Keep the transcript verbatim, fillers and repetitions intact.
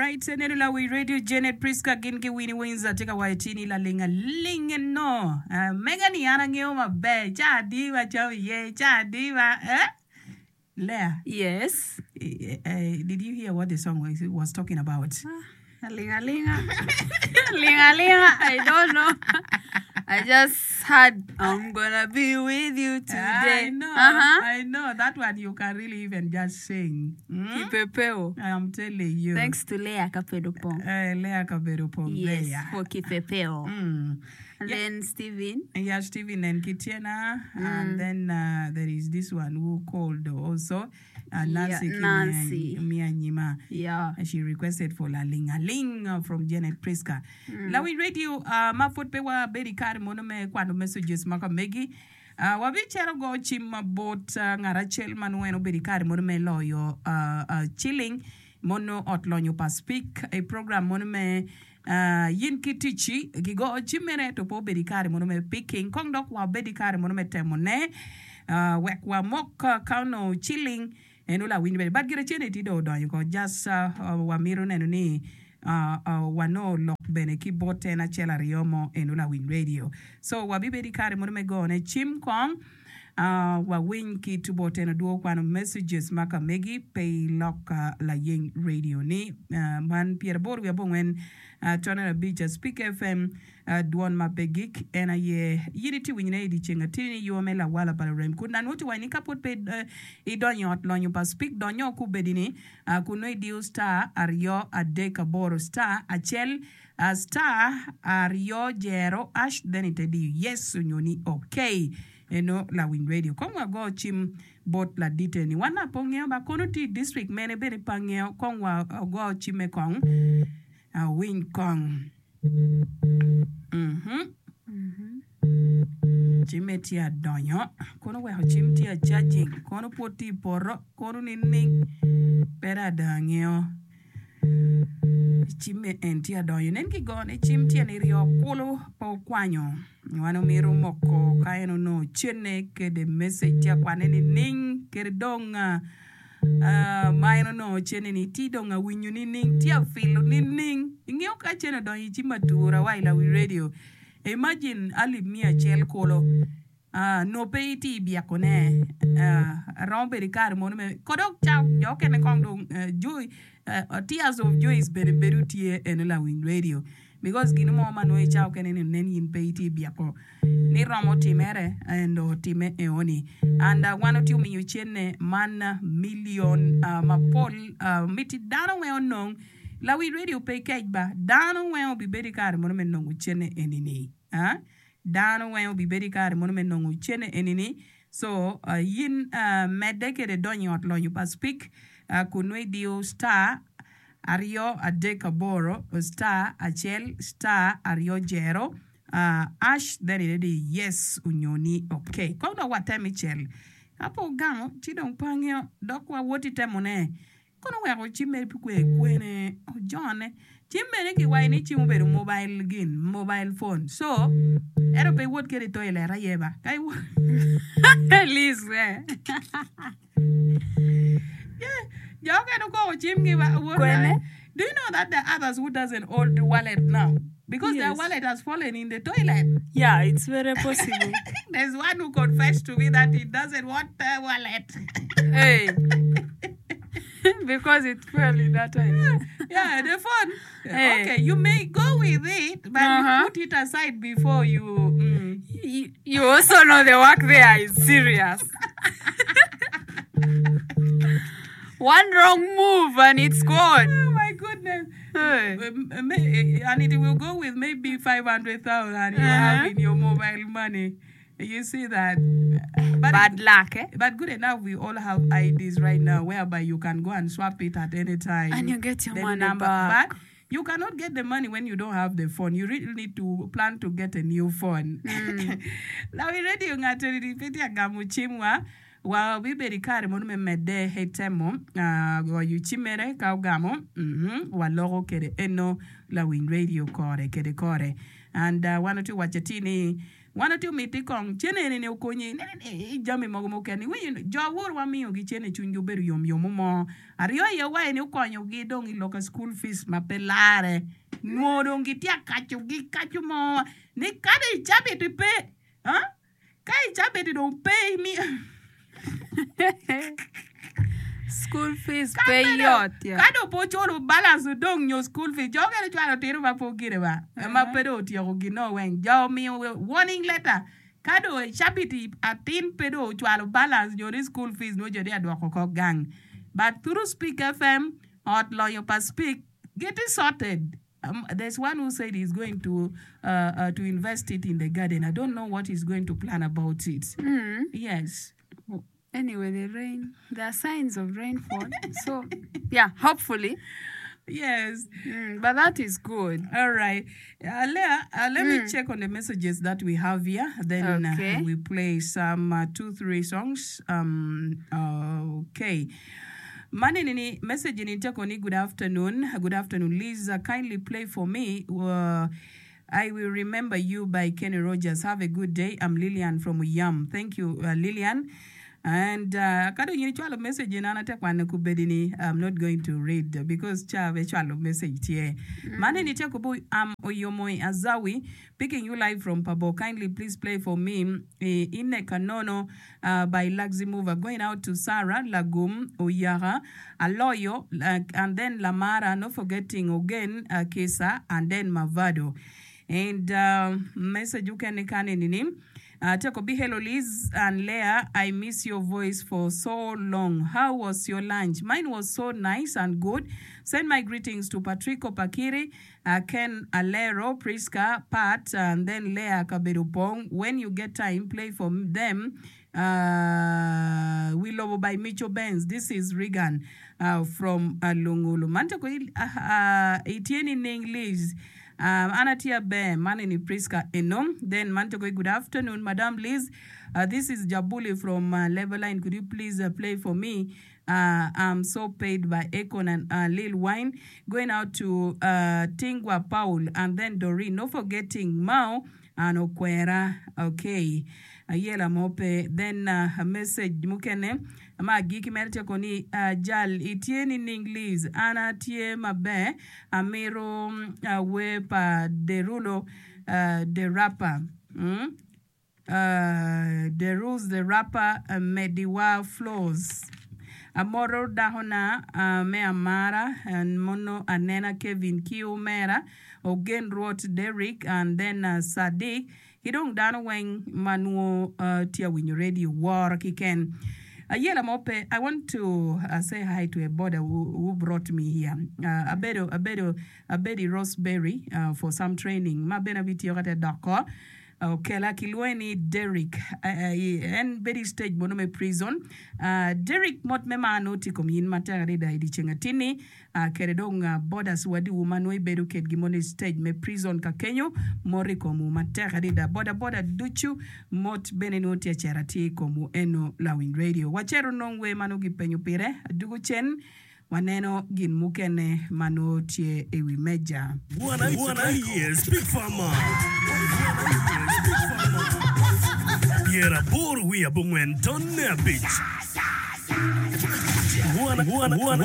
Alright, neno lawi radio Janet Priska gin ki Winnie Windsor tye ka waco ci ni laling aling eno. Uh, mega ni an angeyo maber ca adi ma cam iye ca adi ma eh? Leah, Yes. eh, eh, did you hear what the song was, was talking about? Alinga linga. Linga linga. I don't know. I just had I'm gonna be with you today. I know, Uh-huh. I know. That one you can really even just sing. Mm? Kipepeo. I'm telling you. Thanks to Leah Kapedo Pong. Uh, Leah Kabedo Pong Yes, there. for Kipepeo. Mm. And Yeah. then Steven. Yeah, Stephen and Kitiana. And then uh, there is this one who called also, uh, Yeah, Nancy Nancy. Mianyima. Yeah. She requested for La Ling a Ling uh, from Janet Priska. Mm. Lawi radio, uh, ma pud pe wa bedi kare mono me kwano messages ma ka megi. Uh, wabicero go cim ma bot uh, ngat acel ma nongo en obedo i kare mono me loyo uh, uh, ciling mono ot lonyo pa speak i program mono me uh, yin ki ticci gigo cim mere to pe obedo i kare mono me picking kong dok wabed i kare mono me temone uh, wek wamok uh, ka onongo ciling en olawiny bene but gire cene ti dong odonyo ko just uh, uh, wamito neno ni uh, uh, wanongo lok bene ki bot en acel aryo mo en olawiny radio so wabibedo i kare mono me gone cim kong uh, wawiny ki tu bot en odwogo kwano messages ma ka megi pe ilok uh, layeng radio ni uh, man pyeraboro wiye abongwen uh, tonere abic uh, Speak FM uh, dwon ma pe gik en aye yin itye winyone i dyeceng atini yo me lawala pa lurem kun nanwoti waci ni ka pud pe uh, idonyo i ot lonyo pa Speak donyo kubedi ni uh, kun nongo idiyo star aryo adek aboro star acel uh, star aryo jero hash then ite diyo yes onyo ni okay eno lawiny radio kong wago cim bot ladite ni wan na pe ongeo ba kono tye i district mene bene pe angeo kong wago cimme kong awiny kong Mhm. Cimme tye adonyo kono weko cim tye a charging kono pud tye i poto kono nining pe dong ada angeo cimme en tye adonyo nen kigone cim tye niryo kulu pe okwanyo wan omito moko ka en onongo cene kede message tye akwane nining kede dong uh, uh, ma en onongo cene ni tye dong awinyo nining tye afilo nining ingeo ka cene odonyo i cim atura wa i lawi radio imagine alip mia acel kulu uh, no pe itye i byekone uh, romo bedo i kare mono me kodok ca jo okene kong dong uh, joy uh, tears of joys bene bedo tye eno lawiny radio because gin mo ma nongo i ca okene ni nen in pe itye i byeko ni romo timere and otime eoni and uh, wan otye omiyo cene man uh, million uh, mapol uh, miti dano weng onong lawi radio pe kec ba dano weng obibedo i kare mono me nongo cene enini ah? dano weng obibedo i kare mono me nongo cene enini so uh, yin uh, medde kede donyo i ot lonyo pa speak uh, kun nongo idiyo star aryo adek aboro star acel star aryo jero uh, hash then ite yes onyo ni okay kong dok watem icel ka pe ogamo ci dong pe angeo dok wawot itemone kono weko cimme kwe kwene ojone cim bene kiwaco ni cim obedo mobile gin mobile phone so ento pe iwot kede i toilet aye ba ka iwot Liz, eh. Yeah, jo okene okoko cimgi ba wot Kwene? Do you know that there are others who doesn't hold the wallet now? Because their Yes. wallet has fallen in the toilet. Yeah, it's very possible. There's one who confessed to me that he doesn't want the wallet. Hey. because it fell in that toilet. yeah, the phone. Hey. Okay, you may go with it, but Uh-huh. you put it aside before you. Mm. You, you also know the work there is serious. One wrong move and it's gone. Oh my goodness. Hey. Um, uh, may- And it will go with maybe five hundred thousand you have Uh-huh. in your mobile money. You see that? But Bad luck, eh? But good enough, we all have I Ds right now whereby you can go and swap it at any time. And you get your The money number. back. But you cannot get the money when you don't have the phone. You really need to plan to get a new phone. Lawi radio ngato ni peti agamu chimwa wa bibedo i kare mono me medde he temo uh, goyo cimere ka ogamo mm-hmm, waloko kede eno lawiny radio kore kede kore and uh, wan otye waco ti ni Wan atye omiti kong cene eni okonyi i jami mogo mukene. Iwinyo jo awor wamiyogi cene cwinygi obedo yom yomo mo. Aryo aye wa eni okonyogi dong i lok school fees ma pe lare. Nwo dong gitye akacogi kaco mo ni kadi i cabit pe ka i cabit dong pe imiyo School fees pe yot ya. Ka dong pe oculo balance odong nyo school fees jo mukene cwalo tino ma pe ogire ba ma pe dong otyeko gino weng jo omiyo warning letter ka dong i cabit atin pe dong ocwalo balance nyo ni school fees nongo jo tye ka dwoko oko gang but through Speak F M ot lonyo pa Speak gitye sorted. Um, there's one who said he's going to uh, uh, to invest it in the garden. I don't know what he's going to plan about it. Mm. Yes. Anyway, the rain, there are signs of rainfall. So, yeah, hopefully. Yes. Mm, but that is good. All right. Uh, Leah, uh, let me check on the messages that we have here. Then uh, Okay. we play some uh, two, three songs. Um, okay. Mani nini message ni teko ni good afternoon. Good afternoon, Liz. Uh, kindly play for me. Uh, I Will Remember You by Kenny Rogers. Have a good day. I'm Lillian from Uyam. Thank you, uh, Lillian. And uh, kado nyini chwalo message na ate kwane kubedini I'm not going to read because cha be chwalo message tie. Mane ni teko bu am Oyomoy Azawi picking you live from Pabo. Kindly please play for me eh, Ine Kanono uh, by Luxy Mover. Going out to Sarah Lagum Oyaga Aloyo uh, and then Lamara, not forgetting again uh, Kesa and then Mavado. And um, message ukene kane nini. Uh, Teko be hello Liz and Leah. I miss your voice for so long. How was your lunch? Mine was so nice and good. Send my greetings to Patrico Pakiri, uh, Ken Alero, Priska, Pat, and then Leah Kaberupong. When you get time, play for them. Uh, we love by Micho Benz. This is Regan uh, from uh, Lungulu. Manteko uh, uh, itieni ning Liz. Um, Anatia Be, Manini Priska Enom. Then Mantoko, good afternoon, Madam Liz. Uh, this is Jabuli from uh, Leveline. Could you please uh, play for me? Uh, I'm so paid by Akon and uh, Lil Wine. Going out to uh, Tingwa Paul and then Doreen. No forgetting Mao and Okwera. Okay. Ayela mope. Then uh, a message mukene. Ma giki mere tye koni uh, jal itye ni ning Liz an atye maber amiro uh, wer pa Derulo uh, the rapper mm? uh, Derulo the rapper uh, Mediwa Flows amoro dakona uh, me amara and mono anena Kevin ki omera Ogen Rwot Derrick and then uh, Sadiq ki dong dano weng ma nwo uh, tye winyo radio woro kiken. Ayela Mope, I want to uh, say hi to a boda who, who brought me here. Uh, abedo, abedo, abedo Roseberry uh, for some training. Ma bena bitiyo kate doko. Okela kilwonge ni Derrick. Uh, uh, en bedo i stage mono me prison. Uh, Derrick mot me mano tye kom yin matek adada i dyeceng atini. Uh, kede dong uh, bodas wadiwu ma nongo ibedo kedgi mono i stage me prison ka kenyo mot i komwu matek adada. Boda boda ducu mot bene nongo tye acera tye i komwu eno lawiny radio. Wacero nong wer ma nongo gipenyo pire adugo cen waneno gin mukene ma nongo tye i wi meja. One aye Speak Farmer. Pyeraboro wiye abongwen tonne abic. One, one, one.